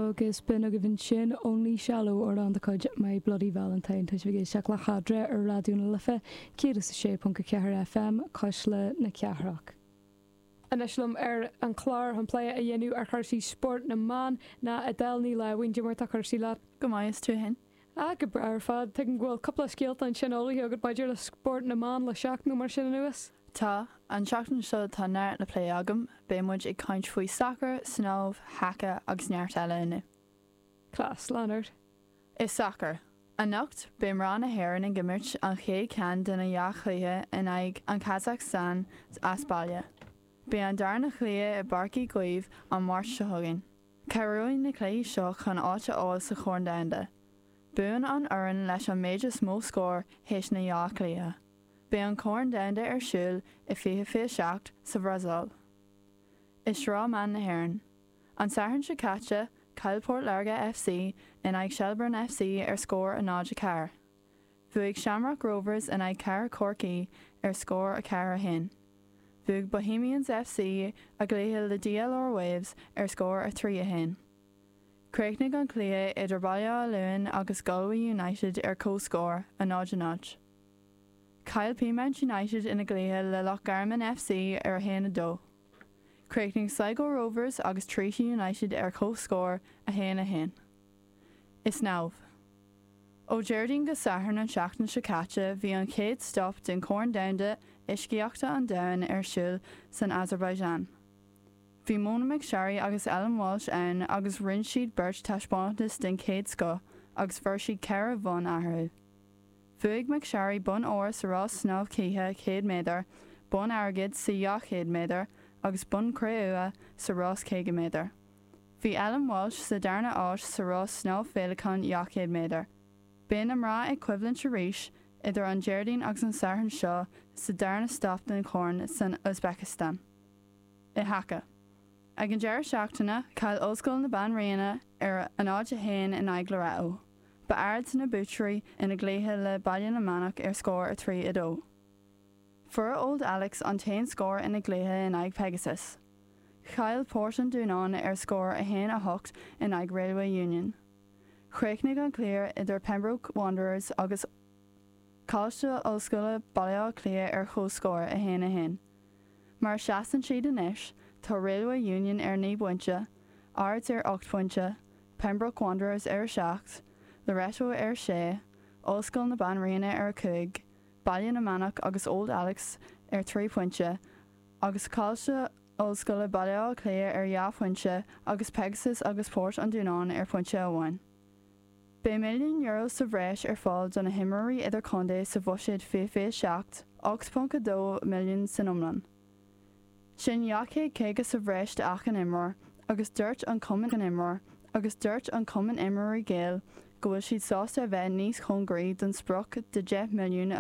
Agus b'in agaibh ansin Only Shallow, amhrán de chuid My Bloody Valentine. Tá sibh ag éisteacht le hEadra ar Raidió na Life 106.4 FM, Cuisle na Cathrach. Anois liom ar an chlár chun plé a dhéanamh ar chúrsaí spórt na mban ná Edel Ní Láimhín. Cad é mar tá cúrsaí leat? Go maith, is tú féin? Ah, go breá ar fad. Tuigim go bhfuil cúpla scéalta ansin ullmhaithe agat maidir le spórt na mban le seachtain nó mar sin anuas? Tá. An tseachtain seo tá neart le plé agam. Beidh muid ag caint faoi sacar, snámh, haca agus neart eile inniu. Class, lean ort. I sacar. Anocht, beidh mná na hÉireann ag imirt an chéad cheann de na dhá chluiche in aghaidh an Kazakhstan as baile. Beidh an darna chluiche i bPáirc Uí Chaoimh an Mháirt seo chugainn. Cabhróidh na cluichí seo chun áit a fháil sa Chorn Domhanda. Buann an fhoireann leis an méid is mó scór théis na dhá chluiche. Beidh an Corn Domhanda ar siúl i 2027 sa Bhrasaíl. I Sraith Mban na hÉireann. An Satharn seo caite, chaill Port Láirge FC in aghaidh Shelbourne FC ar scór 0-4. Bhuaigh Shamrock Rovers in aghaidh Cathair Chorcaí ar scór 4, 1. Bhuaigh Bohemians FC a gcluiche le DLR Waves ar scór 3, 1. Chríochnaigh an cluiche idir Baile Átha Luain agus Galway United ar comhscór, 0, 0. Chaill Peamount United ina gcluiche le Loch Garman FC ar 1, 2. Chríochnaigh Sligo Rovers agus Treaty United ar comhscór, 1, 1. I snámh. Ó Déardaoin go Satharn an tseachtain seo caite bhí an chéad stop den Chorn Domhanda Uiscíochta an Domhain ar siúl san Azerbaijan. Bhí Mona McSharry agus Ellen Walshe ann agus rinne siad beirt taispeántas den chéad scoth agus fuair siad 4 bhonn eatarthu. Bhuaigh McSharry bonn óir sa rás snámh cíche 100 méadar, bonn airgid sa 200 méadar agus bonn cré-umha sa rás 50 méadar. Bhí Ellen Walshe sa darna áit sa rás snámh féileacáin 200 méadar. Beidh na mná ag coimhlint arís idir an Déardaoin agus an Satharn seo sa darna stop den Chorn san Uzbekistan. I haca. Ag an deireadh seachtaine, chaill Ollscoil na Banríona ar 0-1 in aghaidh Loreto. Ba Ards na buaiteoirí ina gcluiche le Baile na Manach ar scór 3-2. Fuair Old Alex an t-aon scór ina gcluiche in aghaidh Pegasus. Chaill Port an Dúnáin ar scór 1, 8 in aghaidh Railway Union. Chríochnaigh an cluiche idir Pembroke Wanderers agus Coláiste Ollscoile Baile Átha Cliath ar comhscór, 1, 1. Mar a seasann siad anois, tá Railway Union ar 9 bpointe, Ards ar 8 bpointe, Pembroke Wanderers ar 7, Loreto ar 6, Ollscoil na Banríona ar 5, Baile na Manach agus Old Alex ar 3 phointe, agus Coláiste Ollscoile Baile Átha Cliath ar 2 phointe agus Pegasus agus Port an Dúnáin ar phointe amháin. Beidh €1 milliún sa bhreis ar fáil do na himreoirí idirchontae sa Bhuiséad 2027, 8.2 milliún san iomlán. Sin 250 sa bhreis d'achan imreoir agus dúirt an Cumann imreoir agus dúirt an Cumann Imreoirí Gael go bhfuil siad sásta a bheith níos cóngaraí don sprioc de 10 milliún a.